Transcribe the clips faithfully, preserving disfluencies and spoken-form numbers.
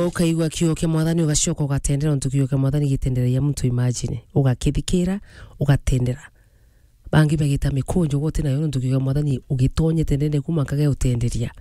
Ukaigua kiugo kia Mwathani ugacoka ugatendera, untu kiugo kia Mwathani gitenderagia muntu, imagine. Ugakithikira, ugatendera. Bangi bagita mikunjo gwe uti nayo, nontu kiugo kia Mwathani ugitonyete ndene kuma nkaga utenderia.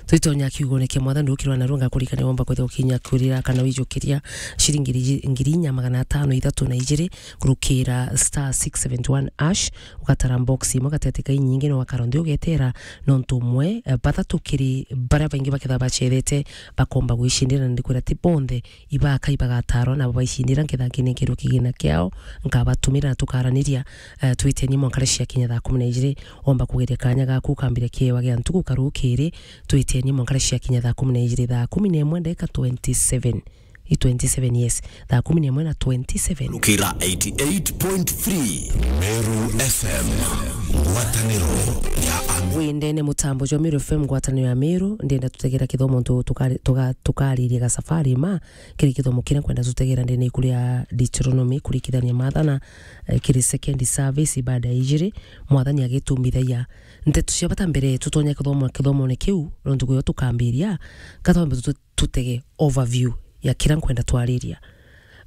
Twitonya kiugone kia Mwathani ukirwa narua ngakurikania womba kwithirwa ukinyakurira kana wijukiria ciringi ngiri, ngiri inya magana atano ithatu na ijiri kurukira star six seven one hash, ugatara box imwe gatete ka inyingi, no wakara nthi ugetera nontu umwe, eh, bathatu kiri baria baingi baketha bacethete bakomba gwicindira, na ndikwira ti bonthe ibaka ibagatarwa nabo baicindira, nketha nkinenkerwe kigina kiao, nkabatumira na tukaraniria, eh, twitenie mwanka ria ciakinya thaa kumi na ijiri, womba kugeria kanya gaku ukambiria kiewa gia ntuku karukiri, twitenie mwanka ria ciakinya thaa kumi na ijiri, thaa kumi na imwe ndagika twenty-seven. I twenty-seven, yes. Thaa kumi na imwe na twenty-seven. Lukira eighty-eight point three Meru F M, ngwataniro ya Amiru. Windene mutambo jwa Meru F M, ngwataniro ya Meru, ndenda tutegera kithomo ntu tukari-, tuga-, tukaririe ga safari ma, kiri kithomo kiria nkwenda tutegera ndene ikuria Deuteronomy, kurikithania Maathana, eh, kiri second service baada ya ijiri, Mwathani agitumbithagia. Nteto cia bata mbere tutonya kithomo, kithomone kiu, nontu kuyo tukambiria, katwambe tu-, tutege overview ya kira nkwenda twariria.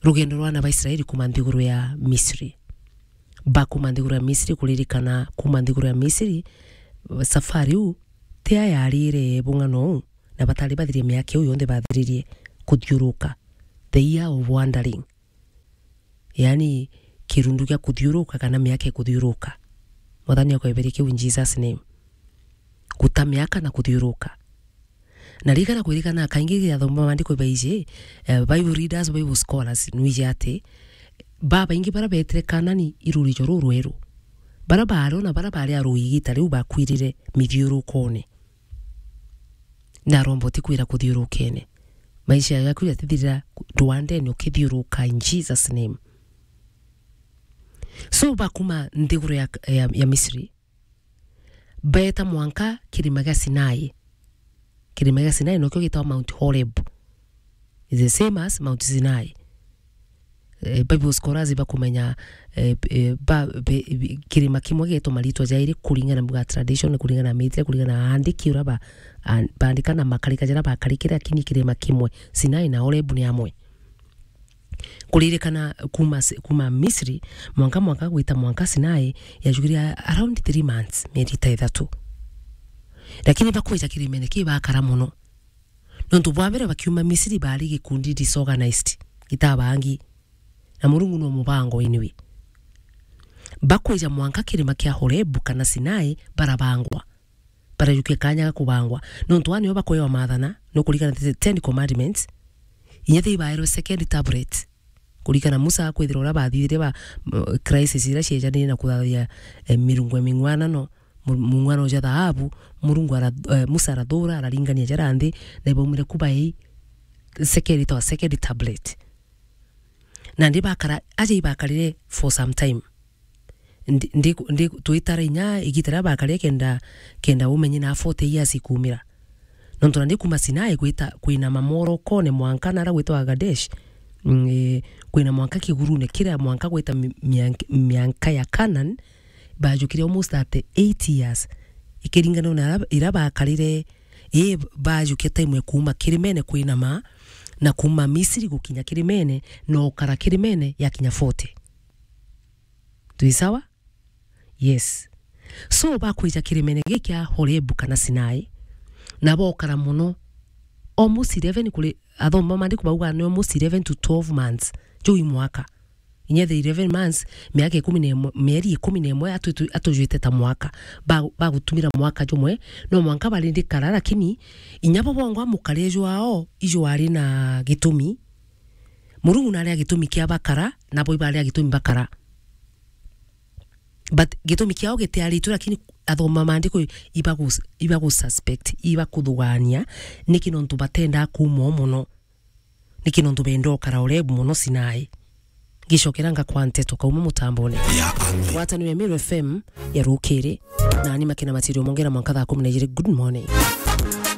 Rugendo rwa ana ba Israeli kuma nthiguru ya Misri. Bakuma nthiguru ya Misri, kuririkana kuma nthiguru ya Misri, safari u ti ya yarire bung'ano u, na batari bathirie miaka iu yonthe bathiririe kuthiuruka. The year of wandering. Yani, kirundu gia kuthiuruka kana miaka ikuthiuruka. Mwathani akweberie kiu in Jesus name. Guta miaka na kuthiuruka. Na ririkana kwirikana kaingi gia thoma maandiko baiji, eh, Bible readers, Bible scholars, nwiji ati babaingi bara betire Kanani i rurijo rurweru. Bara barona bara bari a rui igita riu bakwirire mithiurukone. Na aromba utikwira kuthiurukene. Maisha yaku yatithirira rwandene ukithiuruka in Jesus name. So bakuma nthiguru ya, ya, ya Misri, beta mwanka kirima gia Sinai. Kirima gia Sinai nokio gitagwa Mount Horeb. It's the same as Mount Sinai. Eh, Bible scholars bakumenya, eh, eh, ba-, be-, bi-, kirima kimwe gitwa maritwa jairi kuringana na tradition, kuringana na mithia, kuringana na aandiki uria ba-, an-, baandika na makarika jaria bakarikire, lakini kirima kimwe, Sinai na Horeb ni amwe. Kuririkana kuma Si-, kuma Misri, mwanka, mwanka gwita mwanka Sinai, yajukire around three months, mieri ta ithatu. Lakini bakwija kirimene ki bakara mono. Nontu bwa mbere bakiuma Misri bari gikundi disorganized, gitabangi. Na Murungu no mubango anyway. Bakwija mwanka kirima kia Horebu kana Sinai barabangwa. Barajukia kanya ga kubangwa. Nontu aa nio bakwewa maathana, no kurikana the Ten Commandments. Inya the ibaerwe second tablet. Kurikana Musa akwithirwa uria bathithire ba, m-, crisis iria ciejanirie na kuthathia, eh, mirungo ming'wana no, mu-, mung'wana uja thaabu, Murungu ara-, eh, Musa arathura, araringania jara nthi, na ibaumire kuba i second, itwa second tablet. Na ndi bakara, aja ibakarire for some time. Ndi, ndi, ndi, twitara inya igita riria bakarire kenda, kenda umenye na forty years ikumira. Nontu na ndi kuma Sinai gwita, kwinama morokone mwanka nara gwitwa Kadesh. Mm, eh, kwina mwanka kigurune kiria mwanka gwita mi-, miank-, mianka ya Canaan, bajukire almost thirty-eight years. Ikiringana na ira, ira bakarire, ii bajukia time ya kuuma kirimene kwinama, na kuuma Misiri gukinya kirimene, na ukara kirimene yakinya forty. Twi sawa? Yes. So, bakwija kirimene giki kia Horebu kana Sinai, na bokara mono, almost eleven kuri, athoma maandiko bauga ni almost eleven to twelve months, juu i mwaka. Inya the eleven months, miaka ikumi na imwe, mieri ikumi na imwe atu-, atu-, atujwite ta mwaka. Ba-, bagutumira mwaka jumwe, no mwanka bari ndikara, lakini inya bo bongwa mukare jwao, ijo ari na gitumi. Murungu nari a gitumi kia bakara, nabo ibari a gitumi bakara. But gitumi kiao gitiaritwe, lakini athoma maandiko ibagu-, ibagususpect, ibakuthugania, niki nontu batendaa kuuma o mono. Niki nontu benda ukara Horebu mono Sinai. Ngicokera ngakwa nteto kauma mutambone. Ya Ami. Ngwataniro ya Meru F M ya rukiri, na ni makina matirio mongera mwanka thaa kumi na ijiri. Good morning.